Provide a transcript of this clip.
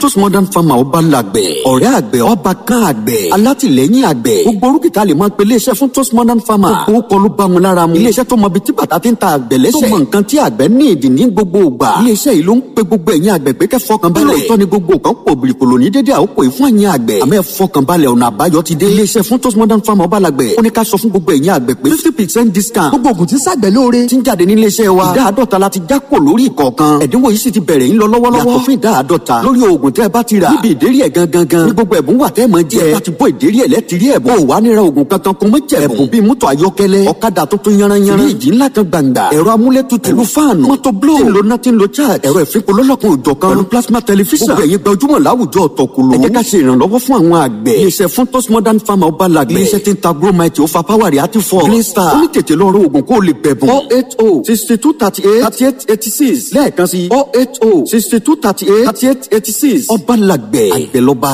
Tos Modern Farmer ọba làgbẹ̀, ọ̀rẹ́ àgbẹ̀, ọba kan àgbẹ̀, alátìlẹ́yìn àgbẹ̀. Gbogbo orúkìtà lè máa pe iléeṣẹ́ fún Tos Modern Farmer. Gbogbo kọlu bá wọn lára mu. Iléeṣẹ́ tó mọ ibi tí bàtà ti ń ta àgbẹ̀ lẹ́sẹ̀. Tó mọ nǹkan tí àgbẹ̀ ní ìdí ní gbogbo ìgbà. Iléeṣẹ́ yìí ló ń pe gbogbo ẹ̀yin àgbẹ̀ pé kẹ́ fọkàn balẹ̀. Lóòótọ́ ni gbogbo nǹkan pò bìrìkòlò ní dédé àkókò yìí fún ẹ̀yin àgbẹ̀. Àmọ́ ẹ fọkàn balẹ̀, ọ̀nà àbáyọ ti dé. Iléeṣẹ́ fún Tos Modern Farmer ọba làgbẹ̀. Ó ní ká sọ fún gbogbo ẹ̀yin àgbẹ̀ pé 50% discount. Gbogbo ògùn tí ṣàgbẹ̀ lóore ti ń jáde ní iléeṣẹ́ wa. Ìdá 50 la ti já kò lórí ìkọ̀ọ̀kan. Ẹ̀dínwó yìí sì ti bẹ̀rẹ̀ ń lọ lọ́wọ́lọ́wọ́. Yàtọ̀ fún ìdá 50 lórí oògùn tẹ́ ẹ bá ti rà. Níbi ìdérí ẹ̀ gangan gan ní gbogbo ẹ̀bùn wà tẹ́ ẹ máa jẹ. Ẹ bá ti bọ́ ìdérí ẹ̀ lẹ́tìrí ẹ̀bùn. Ó wà níra oògùn kankan kún mọ́ jẹ̀bùn. Ẹ̀bùn bíi mọ́tò ayọ́kẹ́lẹ́, ọ̀kadà tuntun yanranyanran, fíríjì ńlá kan gbàǹgbà, ẹ̀rọ amúlétutù, pẹ̀lú fáànù, mọ́tò blow, tí ń lo nothing lo charge, ẹ̀rọ ìfipò lọ́lọ́kan òjọ̀kan, pẹ̀lú plasma television. Gbogbo ẹ̀yin gbajúmọ̀ láwùjọ ọ̀tọ̀kùlù. Ẹ jẹ́ ká ṣe ìrànlọ́wọ́ fún àwọn àgbẹ̀. Iléeṣẹ́ fún Tos Modern Farmer ọba làgbẹ̀. Iléeṣẹ́ tí ń ta Gromite, ó fa power àti fọ́. Green Star. Ó ní tètè lọ rọ oògùn kó o lè bẹ̀bùn. 080 62 38 38 86 lẹ́ẹ̀kan sí 080 62 38 38 86. Ọba làgbẹ̀, àgbẹ̀ lọ́ba.